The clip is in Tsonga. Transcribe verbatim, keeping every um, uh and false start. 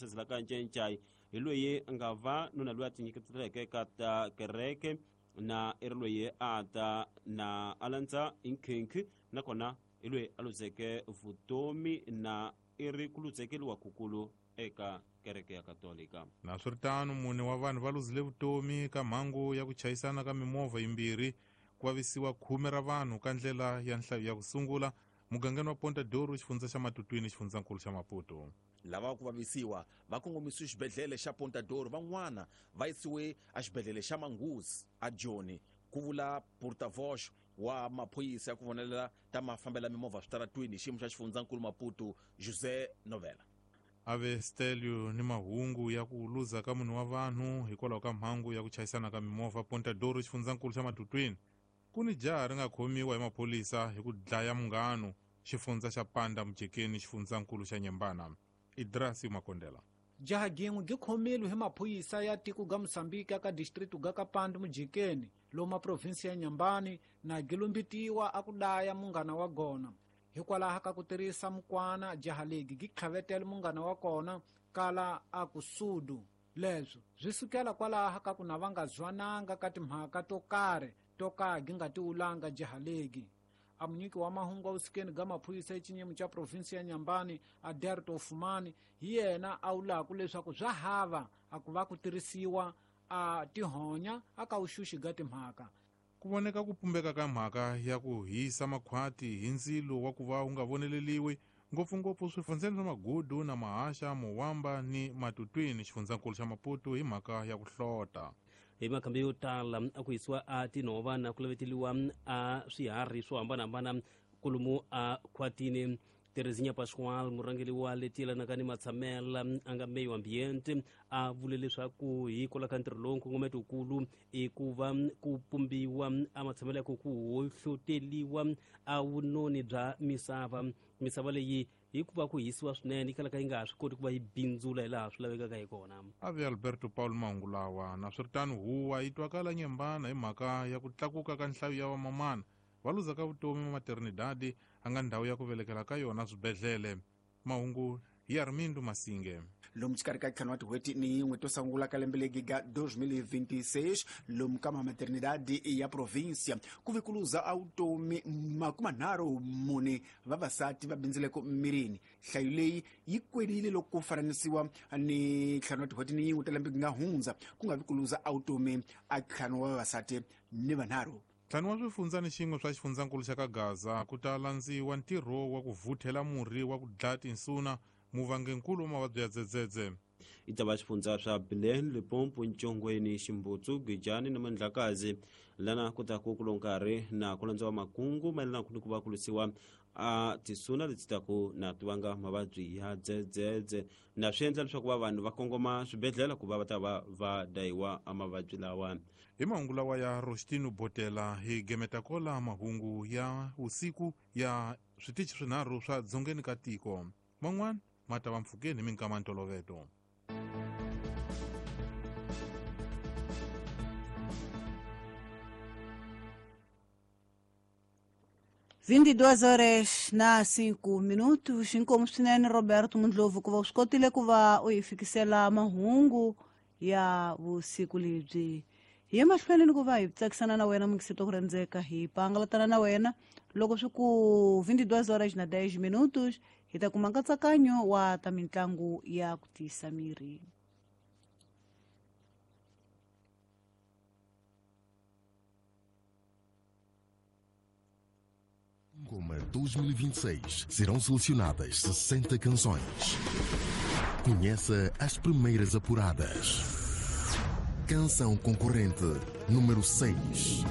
Sezela ka Ncencai hi loyi a nga va nuna loyi a tinyiketeleke ka ta kereke na i ri loyi a ta na a landza nkhinkhi nakona hi loyi a luzeke vutomi na i ri ku luzekeliwa kukulu eka kereke ya Katolika. Na swiritano mune wa vanhu va luzile vutomi ka mhangu ya ku chayisana ka mimovha yimbirhi ku vavisiwa khume ra vanhu ka ndlela ya nhlayo ya ku sungula mugangeni wa Ponta Douro xifundza xa Matutwini xifundzankulu xa Maputo. Lava ku vavisiwa va kongomisiwe xibedhlele xa Ponta Douro, van'wana va yisiwe exibedhlele xa Manguzi a Joni, ku vula porta-voz wa maphorisa ya ku vonelela ta mafambela mimovha switaratwini hi xiyimo xa xifundzankulu Maputo, José Novela. Ave Stelio ni mahungu ya ku luza ka munhu wa vanhu hikwalaho ka mhangu ya ku chayisana ka mimovha Ponta Douro xifundzankulu xa Matutwini. Ku ni jaha ri nga khomiwa hi maphorisa hi ku dlaya munghano xifundza xa Panda Mujekeni xifundzankulu xa Nyembana. Idrasi Makondela. Jaha gin'we gi khomile hi maphorisa ya tiko ga Mozambique ka district ga ka Panda Mujekeni loma province ya Nyambani na gilumbitiwa a ku daya munghana wa gona. Hikwalaho ka ku tirhisa mukwana jaha legi gi tlhavetela munghana wa kona kala a ku sudu. Leswo swi sukela kwalaho ka ku na va nga zwananga ka timhaka to karhi to ka gi nga tiwulanga jaha legi. A munyiki wa mahungu a vusikeni ga maphorisa exinyimo xa province ya Nyambani Aderto Fumani hi yena a wulaku leswaku swa hava a ku va ku tirhisiwa a tihonya a ka vuxuxi ga timhaka. Ku voneka ku pumbeka ka mhaka ya ku hisa makhwati hi ndzilo wa ku va wu nga voneleliwi ngopfungopfu swifundzeni swa Magudu na Mahasha, Mowamba ni Matutwini xifundzankulu xa Maputo hi mhaka ya ku hlota. Hi makhambi yo tala a ku hisiwa a tinhova na ku laveteliwa a swiharhi swo hambanahambana kolomu a khwatini. Terezinha Pascoal murhangeri wa leti yelanaka ni matshamela a nga meyo ambiente a vule leswaku hikwalaho ka ntirho lowu nkongometokulu i ku va ku pumbiwa a matshamelo ya ku ku hohloteliwa a vunoni bya misava. Misava leyi hikuva ku hisiwa swinene yi kalaka yi nga ha swi koti ku va yi bindzula hi laha swi lavekaka hi kona. Ave Alberto Paulo mahungu lawa. Na swiritano huwa yi twakala Nyembana hi mhaka ya ku tlakuka ka nhlayo ya vamamana va luzaka vutomi maternidade a nga ndhawu ya ku velekela ka yona swibedhlele. Mahungu hi Armindo Masinge. Lomu xikarhi ka ntlhanu wa tin'hweti ni yin'we to sungula ka lembe legi ga dois mil e vinte e seis lomu ka maternidade ya província ku ve ku luza a vutomi makumanharhu mune vavasati va bindzileko mirini. Nhlayo leyi yi kwelile loko ku fananisiwa ni ntlhanu wa tin'hweti ni yin'we ta lembe nga hundza ku nga vi ku luza a vutomi a ntlhanu wa vavasati ni vanharhu. Ntlhanu wa swifundza ni xin'we swa xifundzankulu xa ka Gaza ku ta landziwa ntirho wa ku vuthela murhi wa ku dlaya tinsuna muvangenkulu wa mavabyi ya dzedzedze. I ta va xifundza swa Bilene, Limpopo, Ntshongweni, Ximbutsu, Gijani na Mandlakazi lana ku ta ku kulo nkarhi na ku landziwa makungu mayelana ni ku va ku lwisiwa a tisuna leti taku na ti vanga mavabyi ya dzedzedze na swi endla leswaku va vanhu va kongoma swibedhlele ku va va ta va va dayiwa a mavabyi lawa. Hi mahungu lawa ya Rostino Botela hi gemeta kola mahungu ya usiku ya switichi swinharhu swa dzongeni ka tiko. Man'wana ma ta va mpfhukeni hi minkama ntoloveto. vinte e duas horas na cinco minutos. Inkomu swinene Roberto Mundlovu ku va u swi kotile ku va u hi fikisela mahungu ya vusiku lebyi. Hi ye mahlweni ni ku va hi tsakisana na wena mukisito ku rhendzeka hi pangalatana na wena loko swi ku vinte e duas horas na dez minutos hi ta kuma nkatsakanyo wa ta mitlangu ya ku tiyisa miri. Goma dois mil e vinte e seis serão selecionadas sessenta canções. Conheça as primeiras apuradas. Canção concorrente número seis.